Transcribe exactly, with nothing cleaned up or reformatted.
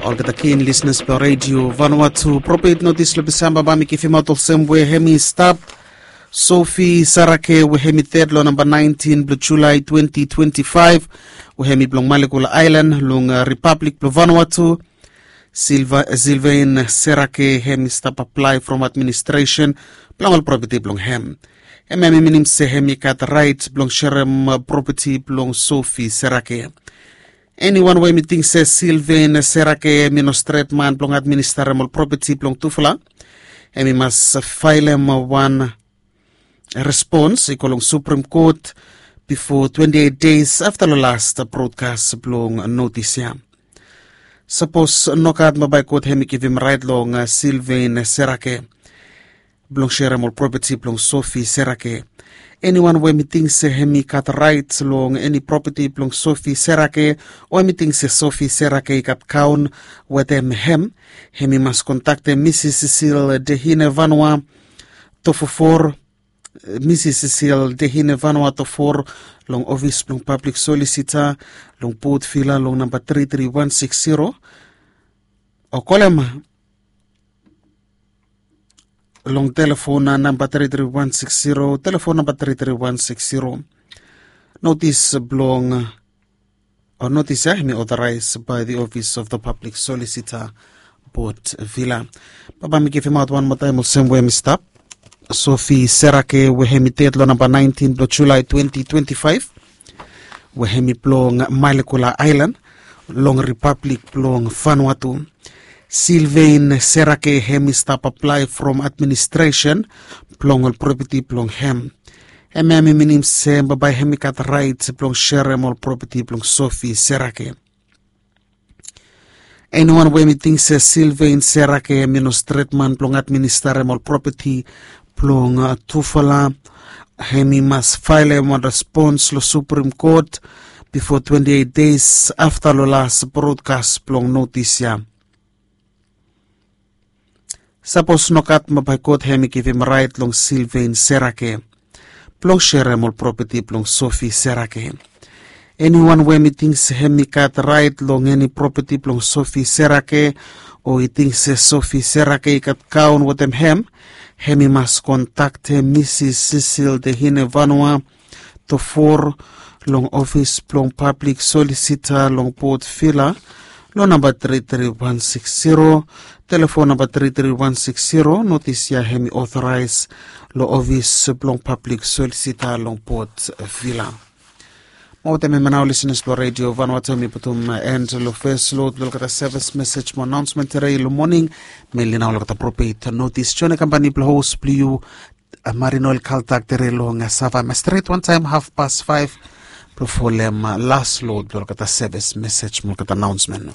Olgeta kin lisenas blong redio Vanuatu, propet notis long Disamba bae mi givimaot olsem we hem i stap. Sofi Serake we hem i ded long namba naentin blong Julae twenti twenti faef, we hem i blong Malekula Aelan long Ripablik blong Vanuatu. Silvain Serake hem i stap aplae from administresen blong ol propeti blong hem. Hem hem i minim se hem i gat raet blong serem propeti blong Sofi Serake. Eniwan we hem i ting se Silvain Serake hem i no stret man blong administarem ol propeti blong tufala, hem i mas faelem wan respons i go long Suprem Kot bifo twenti eit deis afta long las brodkas blong notis ya. Sapos nogat, bambae God hem i givim raet long Silvain Serake blong serem ol propeti blong Sofi Serake. Eniwan we hem i ting se hem i gat raet long eni propeti blong Sofi Serake, o hem i ting se Sofi Serake i gat kaon wetem hem, hem i mas kontaktem Misis Sisil Dehine Vanua Tofofor, Misis Sisil Dehine Vanua Tofor, long ofis blong pablik solisita long Port Vila long namba tri tri wan siks zero, o kolem long telefon namba tri tri wan siks zero, telefon namba tri tri wan siks zero. Notis blong, o notis ya hem i otoraes bae the Office of the Public Solicitor, Port Vila. Bambae mi givimaot wan moa taem olsem we hem i stap. Sofi Serake we hem i ded long namba naentin blong Julae twenti twenti faef, we hem i blong Malekula Aelan long Ripablik blong Vanuatu. Silvain Serake hem i stap aplae from administresen blong ol propeti blong hem. Hem hem i minim se bambae hem i gat raet blong serem ol propeti blong Sofi Serake. Eniwan we hem i ting se Silvain Serake hem i no stret man blong administarem ol propeti blong tufala, hem i mas faelem wan respons long Suprem Kot bifo twenti eit deis afta long las brodkas blong notis ya. Sapos nogat, bambae God hem i givim raet long Silvain Serake blong serem ol propeti blong Sofi Serake. Eniwan we hem i ting se hem i gat raet long eni propeti blong Sofi Serake, o i ting se Sofi Serake i gat kaon wetem hem, hem i mas kontaktem Misis Sisil Dehine Vanua Tofor long ofis blong pablik solisita long Port Vila long namba tri tri wan siks zero, telefon namba tri tri wan siks zero. Notis ya hem i otoraes long ofis blong pablik solisita long Port Vila. Mo wetem hemia nao, lisenas blong redio Vanuatu, mi putum en long fes lod blong olgeta sevis mesej mo anaonsmen tede long moning. Meli nao olgeta propet notis. Join kampani blong hos blong yu, Marino el Kaltak, tede long Sava Mestret, wantaem hafpas faef blong folem las lod blong olgeta sevis mesej mo olgeta anaonsmen.